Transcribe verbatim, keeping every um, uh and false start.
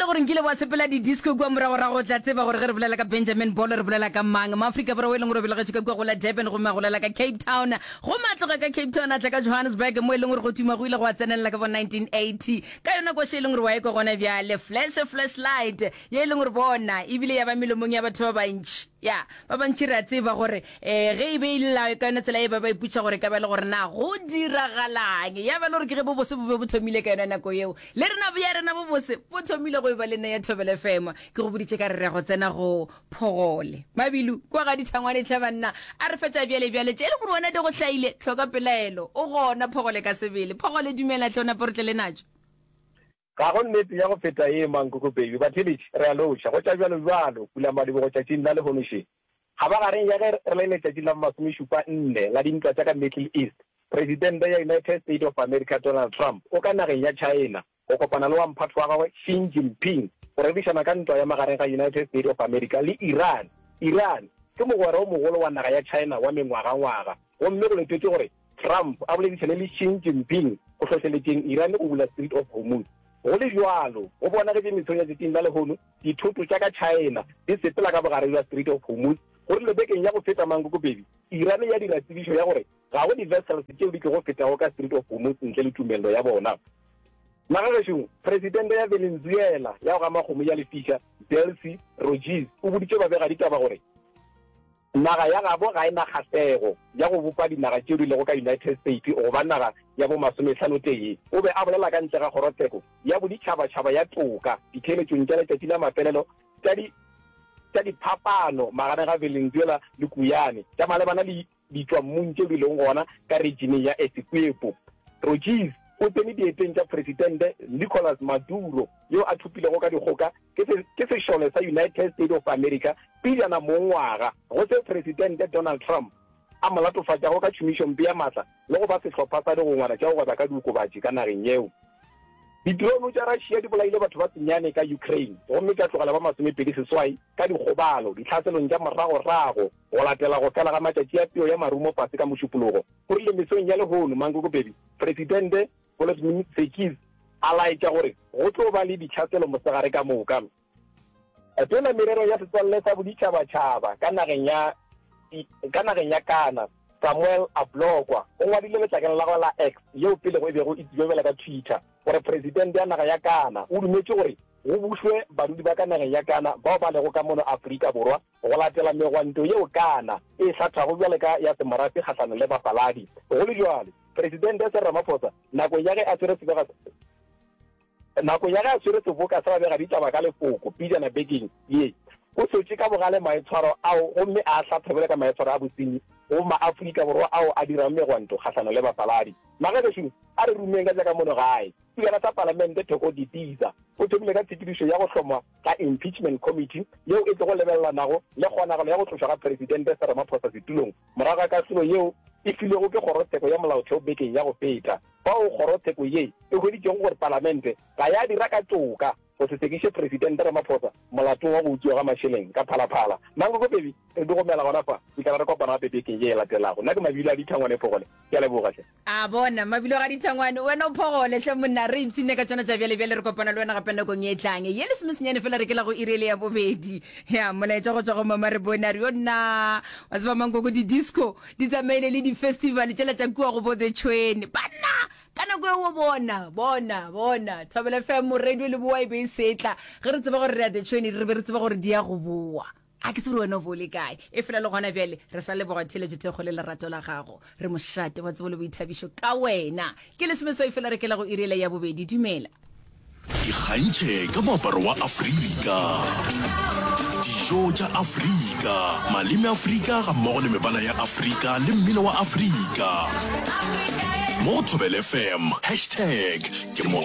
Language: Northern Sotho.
le gore nkile wa sepela di-disco kua moragorago, o tla tseba gore ge re bolela ka Benjamin Bolo re bolela ka mang. Moafrika Borwa o e leng gore o belegetšwe ka kua go la Durban gomme a golela ka Cape Town, gomme a tloga ka Cape Town a tla ka Johannesburg mo e leng gore go tuma go ile gwa tsenelela ka bo nineteen eighty ka yona koša e leng gore wa e kwa gona bjale, Flash Flashlight, ye e leng gore bona ebile ya ba melomong ya batho ba bantši. Ya, ba bantši re a tseba gore um ge e be e lla ka yona tsela ye ba ba ipotšiša gore e ka ba e le gore na go diragalang. Ya ba e le gore ke ge bobose bo be bo thomile ka yona nako yeo. Le rena bja rena bobose bo thomile go e ba le nna ya Thobela F M. Ke go boditše ka re re ya go tsena go Phogole. Mabilu, kua ga Dithangwane hle banna. A re fetša bjale bjale tše e le gore wena di go hlaile, hloka pelaelo. O gona Phogole ka sebele. Phogole dumela hle o nape re tle le natšo. Ga go nnete ya go feta ye, Mankoko Baby. Batheeletši, re a lotšha. Go tša bjalo-bjalo, pulamadibogo tšatšing la lehono še. Kgabagareng ya ge re le letšatšing la bomasomešupa nne la dintwa tša ka Middle East, Presidente ya United State of America Donald Trump o ka nageng ya China go kopana le wa mphatho wa gagwe Xi Jinping go rerišana ka ntwa ya magareng ga United State of America le Iran. Iran ke mogwera o mogolo wa naga ya China wa mengwagangwaga gomme go letetšwe gore Trump a boledišane le Xi Jinping go hlohleletšeng Iran go bula Strait of Hormuz. Go le bjalo, go bonagetše mesong ya tšatšing la lehono dithoto tša ka China di sepela ka bogare bja Strait of Hormuz. Go rile bekeng ya go feta Mankoko Baby, Iran ya dira tsebišo ya gore ga go di-vessels tšeo di tlogo fetago ka Strait of Hormuz ntle le tumello ya bona. Magagešong, Presidente ya Venezuela ya go gama kgomo ya lefiša, Delcy Rodríguez o boditše babegaditaba gore Naga ya gabo ga e na kgahlego ya go bopa dinaga tšeo di lego ka United States go ba naga ya bomasomehlano-tee. O be a bolela ka ntle ga kgorotsheko ya boditšhabatšhaba ya toka ditheeletšong tša letšatši la mafelelo tša di tša diphapano magareng ga Venezuela le Guyane tša malebana le ditšwammung tšeo di lego gona ka regioneng ya Essequibo. Rodgers o tsene dieteng tša Presidente Nicolas Maduro yo a thopilego ka dikgoka ke ke sešole sa United States of America pejana mo ngwaga, go seo Presidente Donald Trump a mo latofatšago ka tšhomišompe ya matla le go ba sehlopha sa digongwana tša go gweba ka diokobatši ka nageng yeo. Di-drone tša Russia di bolaile batho ba senyane ka Ukraine gomme tša tlogela ba masomepedi seswai ka dikgobalo ditlhaselong tša moragorago go latela go fela ga matšatši a peo ya marumo fase ka Mošupologo, go rile mesong ya lehono Mankoko Baby Presidente Volodymyr Zelensky a laetša gore go tlo ba le ditlhaselo mosegare ka moka. Tona Merero ya Setswalle sa Boditšhabatšhaba ka nageng ya ka nageng ya Ghana, Samuel Ablokwa, o ngwadile letlakaleng la gagwe la X, yeo pelego e bego e tsebja bjalo ka Twitter, gore Presidente ya naga ya Ghana o dumetše gore go bušwe badudi ba ka nageng ya Ghana bao ba lego ka mono Afrika Borwa go latela megwanto yeo Ghana e e hlathago bjalo ka ya semorafe kgahlanong le bafaladi. Go le bjalo, Presidente Cyril Ramaphosa nakong ya ge a swere sebega nakong ya ge a swere seboka sa babegaditaba ka lefoko pejana bekeng ye, o sotše ka bogale maitshwaro ao gomme a a hlatha bjalo ka maitshwaro a bosenyi go maAfrika Borwa ao a dirago megwanto kgahlanong le bafaladi. Magagešo, a re rumeng ka tša ka mono gae. Spikara sa Palamente Thoko Didiza o thomile ka tshepedišo ya go hlongwa ga Impeachment Committee yeo e tlogo lebelelanago le kgonagalo ya go tlošwa ga Presidente Cyril Ramaphosa setulong morago ga kahlolo yeo e filwego ke Kgorotsheko ya Molaotheo bekeng ya go feta fao kgorotsheko ye e hweditšego gore Palamente ga ya dira ka toka go se sekiše Presidente Ramaphosa molatong wa go utswiwa ga mašeleng ka Phalaphala. Mankoko Baby, re di gomela gona fa, fihlela re kopana gape bekeng ye e latelago. Nna ke Mabilo a Dithangwane Phogole. Ke a leboga hle. A bona, Mabilo ga Dithangwane, wena o phogole hle monna, re ipshinne ka tšona tša bjale bjale, re kopana le wena gape nakong ye e tlang. Ye lesomesenyane fela re ke la go iri ele ya bobedi. Ya, molaetša go tšwa go Mama re bone, a re yo nna, wa tseba Mankoko di-disco di tsamaile le di-festival tšela tša kua go bo The Tšhwene. Banna! Ka nako eo bona, bona, bona, Thobela F M, radio le boa e be e setla. Ge re tseba gore re ya The Tšhwene, re be re tseba gore di ya go boa. A ke tsebe gore wena o bo o le kae. Efela le gona bjale re sa leboga theeletšo thekgo le lerato la gago. Re mošate wa tsebo le boithabišo ka wena. Ke lesomeswai fela re kela go iri yela ya bobedi. Dumela. Ikgantšhe ka moaparo wa Afrika, dijo tša Afrika, maleme Afrika gammogo le mebala ya Afrika le mmino wa Afrika. Mo go Thobela F M, hashtag ke mo